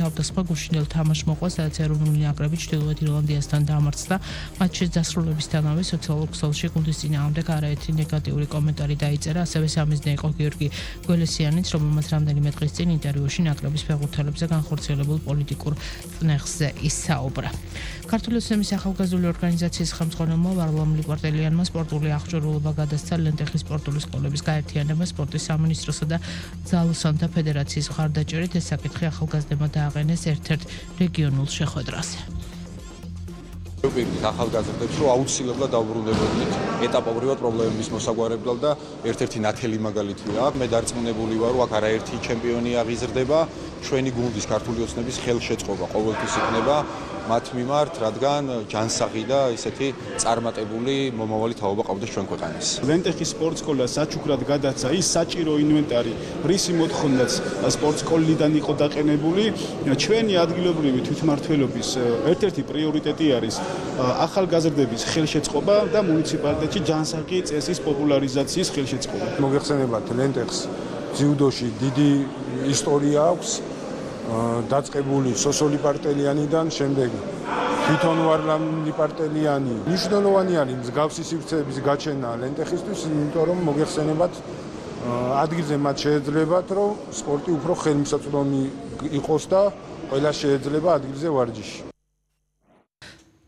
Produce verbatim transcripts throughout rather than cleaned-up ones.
თავდასხმა გუშინდელ თამაშს მოყვა, სადაც ეროვნული ნაკრები ჩრდილოეთ ირლანდიასთან დამარცხდა. მატჩის დასრულებისთანავე სოციალურ ქსელში გუნდის წინააღმდეგ არაერთი ნეგატიური კომენტარი დაიწერა, ასევე სამიზნე იყო გიორგი გველესიანიც, რომელმაც რამდენიმე დღის წინ ინტერვიუში ნაკრების ფეხბურთელებზე განხორციელებულ პოლიტიკურ წნეხზე ისაუბრა. ქართული ოცნების ახალგაზრდული ორგანიზაციის ხელმძღვანელმა ვარლამ ლიპარტელიანმა სპორტული აღჭურვილობა გადასცა ლენტეხის სპორტული სკოლების გაერთიანება სპორტის სამინისტროსა და ძალოსანთა ფედერაციის მხარდაჭერით. ეს საკითხი ახალგაზრდებმა დააყენეს ერთ-ერთ რეგიონულ შეხვედრაზე. ახალგაზრდებს რომ აუცილებლად დაუბრუნდებოდით ეტაპობრივად პრობლემების მოსაგვარებლად და ერთ-ერთი ნათელი მაგალითია. მე დარწმუნებული ვარ, რომ აქ არაერთი ჩემპიონი აღიზრდება. ჩვენი გუნდის ქართული ოცნების ხელშეწყობა ყოველთვის იქნება მათ მიმართ, რადგან ჯანსაღი და ისეთი წარმატებული მომავალი თაობა ყავდეს ჩვენ ქვეყანას. ლენტეხის სპორტსკოლა საჩუქრად გადაცა ის საჭირო ინვენტარი, რისი მოთხოვნაც სპორტსკოლიდან იყო დაყენებული. ჩვენი ადგილობრივი თვითმმართველობის ერთ-ერთი პრიორიტეტი არის ახალგაზრდების ხელშეწყობა და მუნიციპალიტეტში ჯანსაღი წესის პოპულარიზაციის ხელშეწყობა. მოგეხსენებათ ლენტეხს ძიუდოში დიდი ისტორია აქვს. დაწყებული სოსო ლიპარტელიანიდან, შემდეგ თვითონ ვარლამ ლიპარტელიანი. მნიშვნელოვანი არის მსგავსი სივრცეების გაჩენა ლენტეხისთვის, იმიტომ რომ მოგეხსენებათ ადგილზე მათ შეეძლებათ, რომ სპორტი უფრო ხელმისაწვდომი იყოს და ყველა შეეძლება ადგილზე ვარჯიში.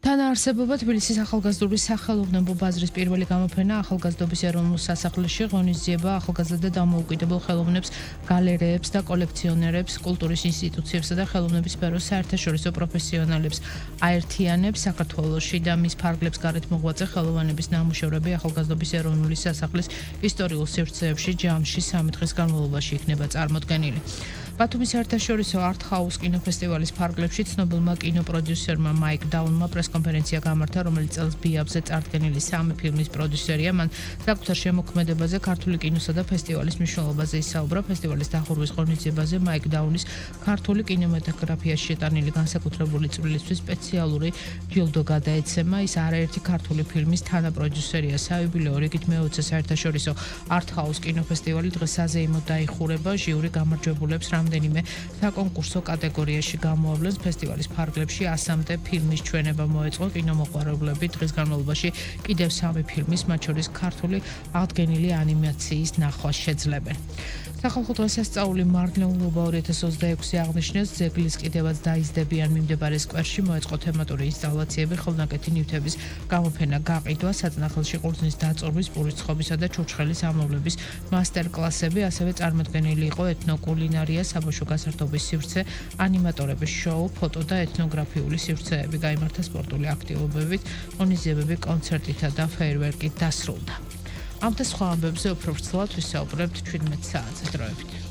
თანაარსებობა თბილისის ახალგაზრდული სახელოვნებო ბაზრის პირველი გამოფენა ახალგაზრდობის ეროვნულ სასახლეში ღონისძიება ახალგაზრდა და დამოუკიდებელ ხელოვნებს, გალერეებს და კოლექციონერებს, კულტურის ინსტიტუციებსა და ხელოვნების სფეროს საერთაშორისო პროფესიონალებს აერთიანებს. საქართველოში და მის ფარგლებს გარეთ მოღვაწე ხელოვნების ნამუშევრები ახალგაზრდობის ეროვნული სასახლის ისტორიულ სივრცეებში ჯამში სამი დღის განმავლობაში იქნება წარმოდგენილი. ბათუმის საერთაშორისო არტ-ჰაუს კინოფესტივალის ფარგლებში ცნობილმა კინოპროდიუსერმა მაიკ დაუნმა პრესკონფერენცია გამართა, რომელიც წელს ბიაბზე წარდგენილი სამი ფილმის პროდიუსერია. მან საკუთარ შემოქმედებაზე, ქართული კინოსა და ფესტივალის მნიშვნელობაზე ისაუბრა. ფესტივალის დახურვის ღონისძიებაზე მაიკ დაუნის ქართული კინემატოგრაფიაში შეტანილი განსაკუთრებული წვლილისთვის სპეციალური ჯილდო გადაეცემა. ის არაერთი ქართული ფილმის თანაპროდიუსერია. საიუბილეო რიგით მეოცე საერთაშორისო არტ-ჰაუს კინოფესტივალი დღეს საზეიმოდ დაიხურება. ჟიური გამარჯვებულებს რამდენიმე საკონკურსო კატეგორიაში გამოავლენს. ფესტივალის ფარგლებში ასამდე ფილმის ჩვენება მოეწყო. კინომოყვარევლები დღის განმავლობაში კიდევ სამი ფილმის, მათ შორის ქართული აღდგენილი ანიმაციის ნახვას შეძლებენ. სახალხო დღესასწაული მარნეულობა ორი ათას ოცდაექვსი აღნიშნეს. ძეგლის კიდევაც დაიზრდებიან მიმდებარე სკვერში მოეწყო თემატური ინსტალაციები, ხელნაკეთი ნივთების გამოფენა, გაყიდვა, საწნახელში ყურძნის დაწურვის, პურის ცხობისა და ჩურჩხელის ამოვლების მასტერკლასები, ასევე წარმოდგენილი იყო ეთნოკულინარია, საბავშვო გასართობის სივრცე, ანიმატორების შოუ, ფოტო და ეთნოგრაფიული სივრცეები. გაიმართა სპორტული აქტივობებით, ღონისძიებები კონცერტითა და ფეიერვერკით დასრულდა. ამ და სხვა ამბებზე უფრო ვრცლად ვისაუბრებთ ჩვიდმეტ საათზე. დროებით.